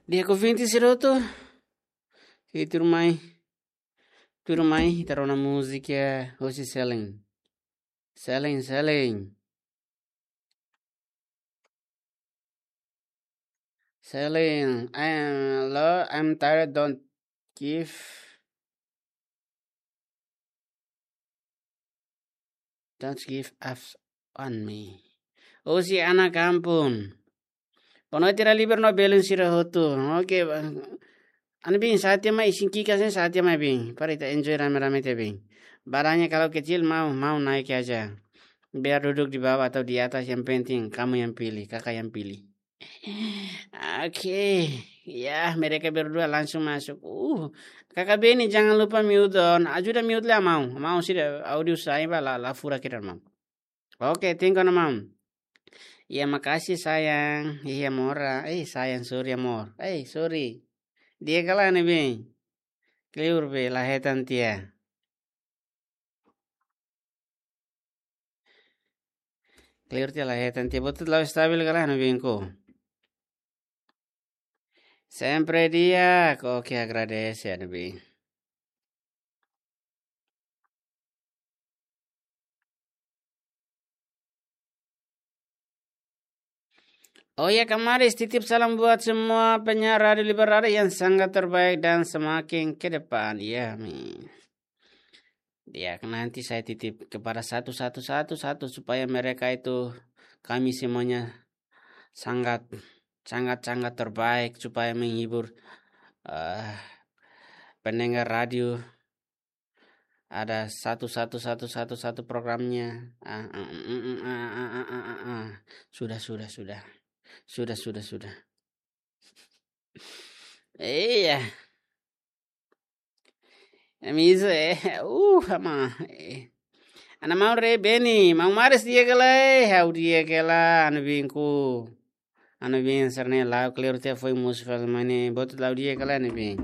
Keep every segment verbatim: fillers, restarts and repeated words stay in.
Di'ak ouvinte sira hotu, ita tuirmai, tuirmai ita rona múzika hosi Selin. Selin, Selin. Selin, I am, Lord, I'm tired, don't give, don't give up on me. Hosi Ana Kampung. Boa noite, Raliber no Belun sira hotu. Oke, ba-, Ana Bin, sa'e tiha mai, isin ki'ik hanesan sa'e tiha mai, Bin. Para ita enjoy rame-rame tiha, Bin. Barangnya kalau kecil mau, mau naik aja. Biar duduk di bawah atau di atas, yang penting kamu yang pilih, kakak yang pilih. Oke, ya, mereka berdua langsung masuk. Uh, Kakak Beni, jangan lupa mute on. Ajuda mute lai, amor. Amor, sira audio sai ba la, la furak hira, amor. Oke, thank you, amor. Ya, makasih, sayang. Iya, amor. Eh, sayang, sorry, amor. Eh, sorry. Di'ak ka lae, Ana Bin? Kleur be, la hetan tiha. Kleur tiha, la hetan tiha. Buat la'o stabil ka lae, Ana Bin, ko? Sempre di'ak, oke, agradese, Ana Bin. Oh ya, Kamaris, titip salam buat semua penyiar Radio Liberada yang sangat terbaik dan semakin ke depan. Ya, amin. Ya, nanti saya titip kepada satu, satu, satu, satu, supaya mereka itu, kami semuanya sangat, sangat, sangat terbaik, supaya menghibur, eh, pendengar radio. Ada satu, satu, satu, satu, satu programnya. Ah, ah, mm, mm, ah, ah, ah, ah, ah, ah. Sudah, sudah, sudah. Sudah, sudah, sudah. Iya. Ami iso, eh, uh, ama, eh. Ana Maun Re Beni, Maun Maris di'ak ka lae, ha'u di'ak ka lae, Ana Bin, ko. Ana Bin, sira-ne'e la'o kleur tiha, foin mosu fali mai ne'e, buat la'o di'ak ka lae, Ana Bin?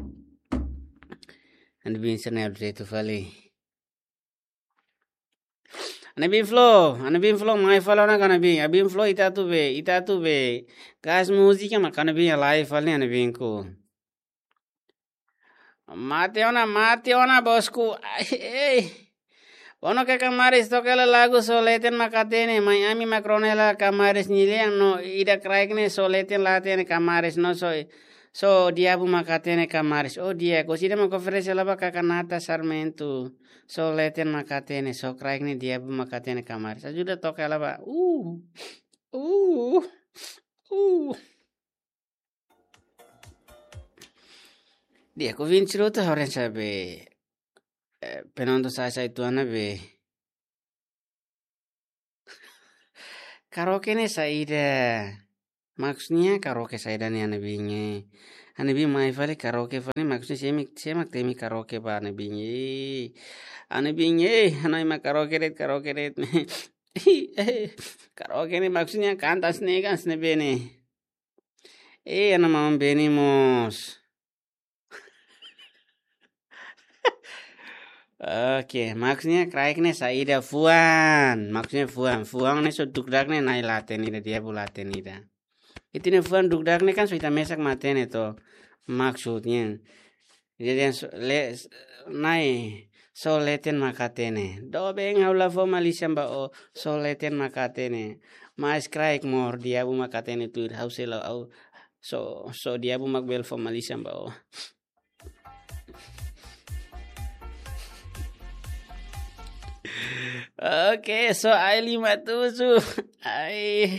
Ana Bin, sira-ne'e update fali. Ana Bin Flow, Ana Bin Flow, mai fali ona ka Ana Bin. Ana Bin Flow, ita atu be, ita atu be. Gas múzika, mak Ana Bin halai fali, Ana Bin, ko. Mate ona, mate ona, bosku. Ai, ei. Bono ke Kamaris, toka hela lagu Só Leten Mak Hatene, mai ami mak rona hela Kamaris nia lian no ida kraik ne'e só leten la hatene Kamaris no só, só diabu mak hatene Kamaris. Oh, di'ak, orsida mak oferese hela ba kaka Nata Sarmento. Só leten mak hatene, só kraik ne'e diabu mak hatene Kamaris. Ajuda toka hela ba. Uh. Uh. Uh. Di'ak, ouvinte sira hotu, ha'u haree saida be, eh, penonton sa'e-sa'e uitoan ne'ebé. Karaoke ne'e saida? Maksudnya karaoke saida ne'e, Ana Bin, eh? Ana Bin mai fali karaoke fali, maksudnya sé mak, sé mak temi karaoke ba, Ana Bin, eh? Ana Bin, eh, hanoin mak karaoke de'it, karaoke de'it. Karaoke ne'e maksudnya kanta hanesan ne'e, hanesan ne'ebé ne'e? Eh, Ana Maun Beni mós. Oke, maksudnya kraik ne'e saida, fuan. Maksudnya fuan. Fuan ne'e só dukdak ne'e na'i la hatene ida, diabu la hatene ida. Ita-nia fuan dukdak ne'e kan só ita mesak mak hatene to. Maksudnya. Jadi yang so-, le-, s-, na'i, só leten mak hatene. Doben, ha'u la fó malísia ba ó, só leten mak hatene. Mas kraik mós diabu mak hatene tuir, ha'u sei la, ha'u só, só diabu mak bele fó malísia ba ó. Oke, só ai lima tujuh. Ai,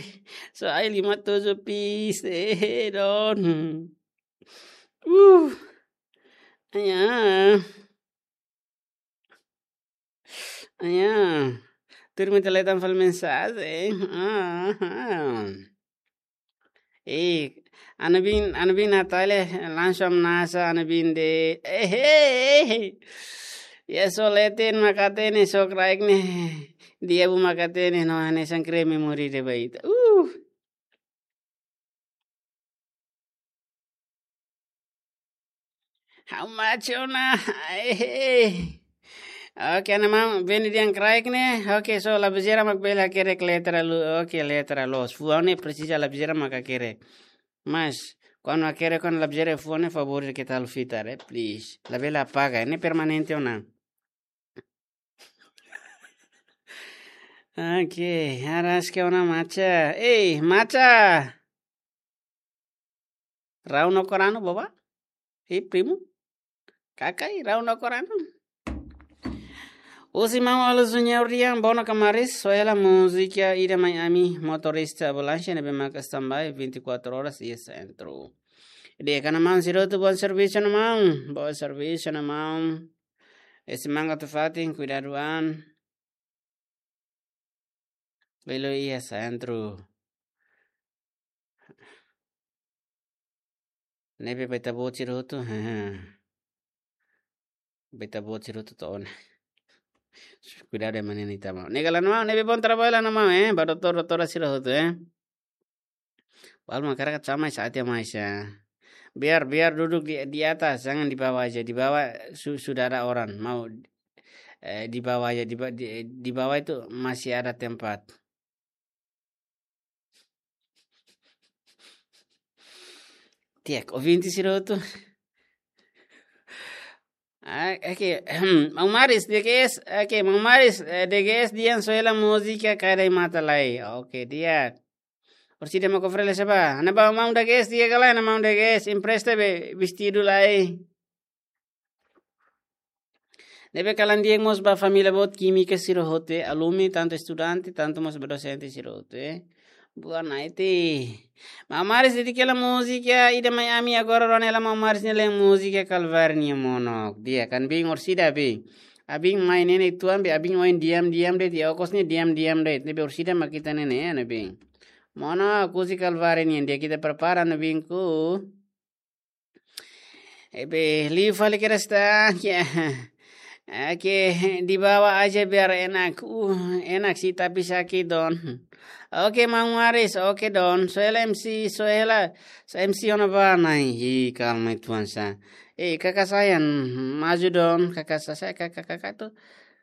só ai lima tujuh, please. Eh, don. Uh. Aya. Aya. Tuir mai ita leten fali mensajen. Ah, ah. Eh, Ana Bin, Ana Bin Natale, langsung nasa Ana Bin de'it. Eh, eh, eh. Ya, só leten mak hatene, só kraik ne'e diabu mak hatene, no hanesan kreme moris de'it ba ita. Uh. Ha'u mate ona. Ai, he. Oke, Ana Maun Beni dehan kraik ne'e. Oke, só lapiseira mak bele hakerek letra lu-, oke, letra loos. Fuan ne'e presiza lapiseira mak hakerek. Mas, Kuandu hakerek, kuandu la bele haree fone, favór ita halo fitar, eh, please. Labele apaga, ne'e permanente ona. Oke, araska ona Macha. Ei, Macha! Rau no korano, boba? Ei, primu? Kakai, rau no korano. Husi maun Alozinho Rian, Bono Kamaris, soe hela múzika Ida Mai Ami, motorista ambulánsia ne'ebé maka standby vinte e quatro horas iha sentru. Di'ak, maun sira hotu, bom servisu ona maun, bom servisu ona maun. Ese manga tu fatin, kuidadu an. Belo iha sentru. Ne'ebé ba ita-boot sira hotu, ba ita-boot sira hotu to'o ona. Kuidadu ema ninin ita maun. Ne'e kalan maun, ne'ebé bom trabalho ona maun, eh, ba doutór, doutora sira hotu, eh. Wal makarak sama sa ati mai sa. Biar, biar duduk di, di atas, jangan di bawah aja. Di bawah su-, sudah ada orang. Mau, eh, di bawah aja, di ba-, di, di bawah itu masih ada tempat. Di'ak, ouvinte sira hotu. Ah, oke, maun Maris, D G S, oke, maun Maris, eh, D G S dehan soe hela múzika Kaidai Mata Lai. Oke, di'ak. Orsida mak oferese ba. Ana ba maun D G S di'ak ka lae, ana maun D G S, empresta be vestidu lai. Ne'ebé kalan di'ak mós ba família boot Kímika sira hotu, alumni, tantu estudante, tantu mós ba dosente sira hotu, eh. Boa noite. Maun Maris, dedika hela múzika Ida Mai Ami, agora rona hela maun Maris nia lean múzika Kalváriu nian, mono. Di'ak, ha'u-nia biin, orsida biin. Ha'u-nia biin mai ne'e ne'e tuan be, ha'u-nia biin ohin diam-diam de'it, okos ne'e diam-diam de'it. Ne'ebé orsida mak ita ne'e ne'e, ha'u-nia biin. Mono, husi Kalváriu nian, di'ak, ita prepara, ha'u-nia biin, ku. Ebe, liu fali kedas tan, ya. Oke, di bawah aja biar enak. Uh, enak sih, tapi sakit, Don. Oke, maun Maris, oke, Don. Soe hela M C, soe hela, so M C ona ba nai. Hi, kalma, tuan sa. Eh, kakak sayang, maju, Don. Kakak sa-, saya, kakak, kakak tu.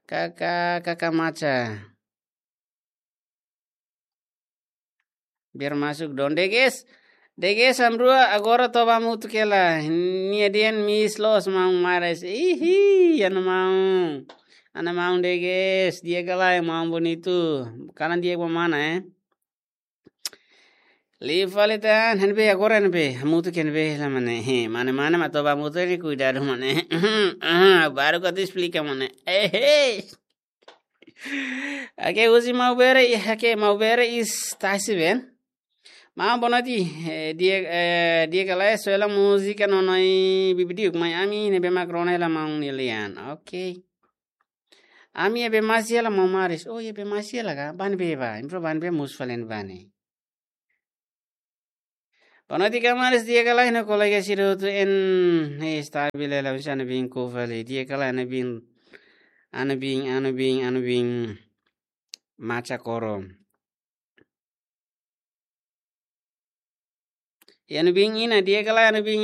Kakak, kakak Macha. Biar masuk, Don. D G S. D G S, amrua, agora toba hamutuk hela. Nia dehan miss loos maun Maris. Ihi, ha'u-nia maun. Ha'u-nia maun D G S. Di'ak ka lae, maun bonitu. Kalan di'ak ba mana, eh? Liu fali tan, ha'u-nia biin agora, ha'u-nia biin. Hamutuk ha'u-nia biin hela mane. He, mane-mane mak toba hamutuk ne'e kuidadu mane. Ah, baru ka atu esplika mane. Eh, hey. Oke, husi Maubere, i-, oke, Maubere is tasi ben. Maun, boa noite, eh, di'ak, eh, di'ak ka lae, soe hela múzika Nonoi Bibidiuk, Mai Ami, ne'ebé mak rona hela maun nia lean. Oke. Ami ebe masi hela maun Maris. Oh, ebe masi hela ka? Ba ne'ebé ba? Impro ba ne'ebé, mosu fali ne'ebá ne'e. Boa noite, kamaradas, di'ak ka lae, ha'u-nia kolega sira hotu en, eh, está bele la bisa ha'u-nia biin ku fali. Di'ak ka lae, ha'u-nia biin, ha'u-nia biin, ha'u-nia biin, ha'u-nia biin Macha Koro. Ha'u-nia biin Ina, di'ak ka lae, ha'u-nia biin